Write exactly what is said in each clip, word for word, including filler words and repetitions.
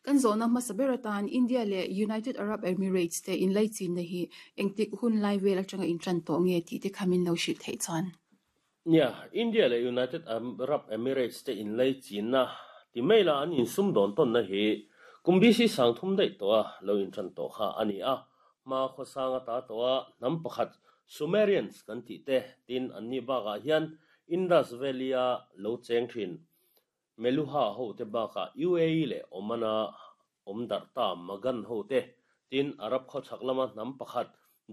Kan zawhna hmasa ber atan India leh United Arab Emirates te inlaichinna hi engtik hun lai vel atanga intan tawh nge tih te kha min lo hrilh theih chuan. Nia, India leh United Arab Emirates te inlaichinna ti mai la an insum dawn tawn na hi kum B C sang thum daih tawh a lo intan tawh kha a ni a. Hma khawsang ata tawh a hnam pakhat Sumerians kan tih te tin an ni bakah hian Indus Valley a lo cheng thin Meluha ho te bakah U A E leh Oman a awm darh ta Magan ho te tin Arab khawchhak lama hnam pakhat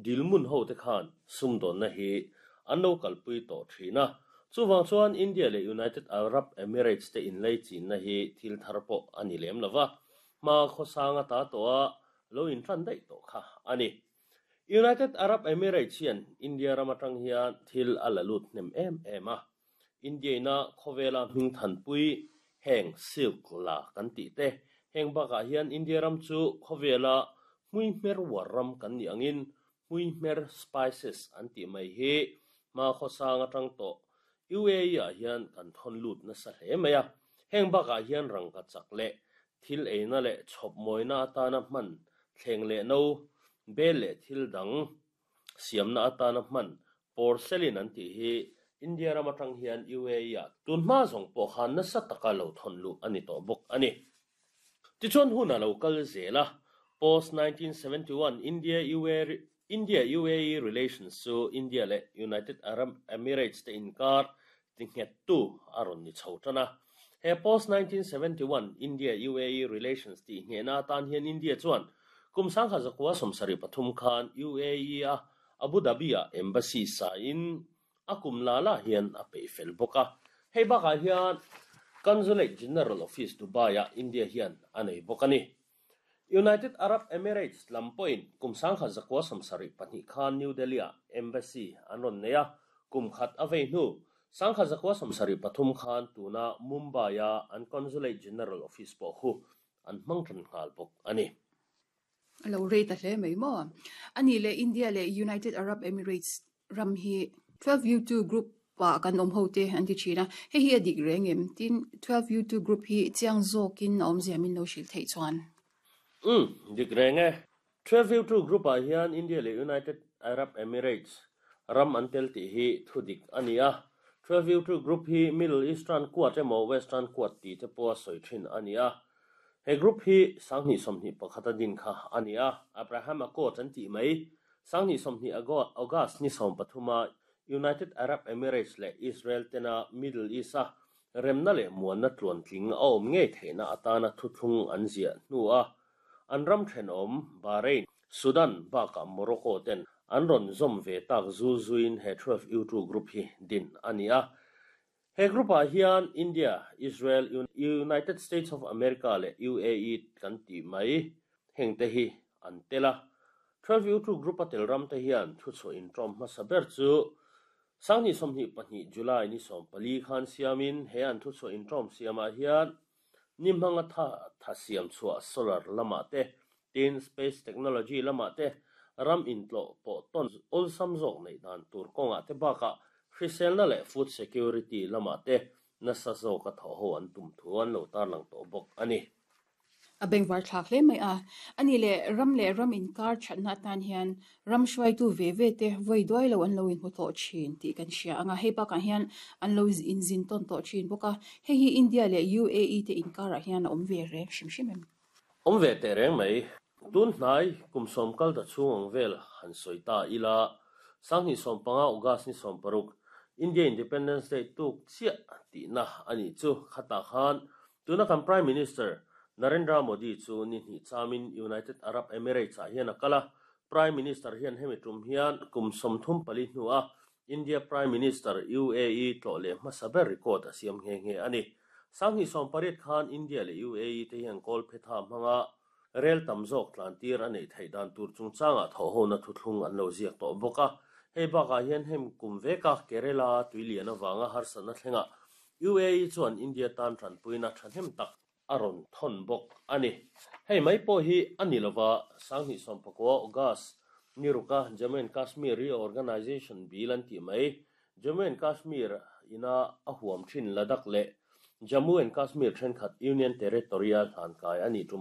Dilmun ho te khan sumdawnna hi an lo kalpui tawh thin a. Chuwang chuan India leh United Arab Emirates te inlaichinna hi thil thar pawh a ni lem lova. Hma khawsang ata tawh a lo intan daih tawh kha a ni. United Arab Emirates hian India ram atang hian thil a la lut hnem em em a. India ina khawvela hming thanpui heng silk la kan tih te heng bakah hian India ram chu khawvela hmui hmer war ram kan ni angin hmui hmer spices an tih mai hi hma khawsang atang tawh U A E ah hian kan thawn lut nasa hle mai a. Heng bakah hian rangka chak leh thil eina leh chhawp mawina atana hman thleng leh no bel leh thil dang siamna atana hman porcelain an tih hi India ram atang hian U A E ah tun hma zawng pawh khan nasa taka lo thawn luh a ni tawh bawk a ni. Tichuan hun a lo kal zel a. Post nineteen seventy-one India U A E India U A E relations chu India leh United Arab Emirates te inkar ti nghet tu a rawn ni chho tan a. He post nineteen seventy-one India U A E relations ti nghehna atan hian India chuan kum sangkhat zakua sawmsarih pathum khan U A E a Abu Dhabi a embassy sa in a kum la la hian a peih fel bawk a. Hei bakah hian Consulate General Office Dubai a India hian a nei bawk a ni. United Arab Emirates lam pawhin kum sangkhat zakua sawmsarih pahnih khan New Delhi a embassy an rawn nei a. Kum khat a vei hnu sangkhat zakua sawmsarih pathum khan tuna Mumbai a an Consulate General Office pawh khu an hmang tan nghal bawk a ni. A lo rei ta hle mai maw. Ani leh India leh United Arab Emirates ram hi twelve U two group pa kan awm ho te an ti thin a. Hei hi a dik reng em tin twelve U two group hi chiang zawkin a awmzia min lo hrilh theih chuan. Um, dik reng e. twelve U two group ah hian India leh United Arab Emirates ram an tel tih hi thu dik a ni a. twelve U two group hi Middle Eastern Quad emaw Western Quad tih te pawh a sawi thin a ni a. He group hi sanghnih sawmhnih pakhat a din kha a ni a. Abraham Accords an tih mai sanghnih sawmhnih August ni sawm pathuma United Arab Emirates leh Israel tena Middle East a remna leh muanna tluan tling a awm ngei theihna atana thuthlung an ziah hnu a. An ram thenawm Bahrain, Sudan bakah Morocco ten an rawn zawm ve tak zul zuin he twelve U two group hi din a ni a. He group ah hian India, Israel, United States of America leh U A E kan tih mai heng te hi an tel a. twelve U two group a tel ram te hian thu chhuah intawm hmasa ber chu sanghnih sawmhnih pahnih July ni sawm pali khan siamin he an thu chhuah intawm siamah hian ni hmanga tha tha siam chhuah solar lamah te tin space technology lamah te ram intlawh pawh tawn awlsam zawk neih dan tur kawngah te bakah hriselna leh food security lamah te nasa zawk a thaw ho an tum thu an lo tarlang tawh bawk a ni. A bengvar thlak hle mai a. Ani leh ram leh ram inkar thatna atan hian ram hruaitu ve ve te vawi duai lo an lo inhmu tawh thin tih kan hria anga. Hei bakah hian an lo inzin tawn tawh thin bawk a. Hei hi India leh U A E te inkarah hian a awm ve reng hrim hrim em. Awm ve teh reng mai. Tun hnai kum sawm kal ta chhung ang vel han sawi ta ila. Sanghnih sawm panga August ni sawm paruk India Independence Day tuk chiah tihna ani chu khatah khan tuna kan Prime Minister Narendra Modi chu ni hnih chamin United Arab Emirates ah hian a kal a. Prime Minister hian hemi tum hian kum sawmthum pali hnu a India Prime Minister U A E tlawh leh hmasa ber record a siam nghe nghe a ni. Sanghnih sawm pariat khan India leh U A E te hian kawl phetha hmanga rel tam zawk tlan tir a neih theih dan tur chungchangah thaw ho na thuthlung an lo ziak tawh bawk a. Hei bakah hian hem kum veka Kerala tuilian awanga harsatna thlenga U A E chuan India tan tanpuina thahnem tak a rawn thawn bawk a ni. Hei mai pawh hi a ni lova sanghnih sawm pakua August ni ruka Jammu and Kashmir Reorganization Bill an tih mai Jammu and Kashmir ina a huam thin Ladakh leh Jammu and Kashmir thenkhat Union Territory a hlan kai a ni tum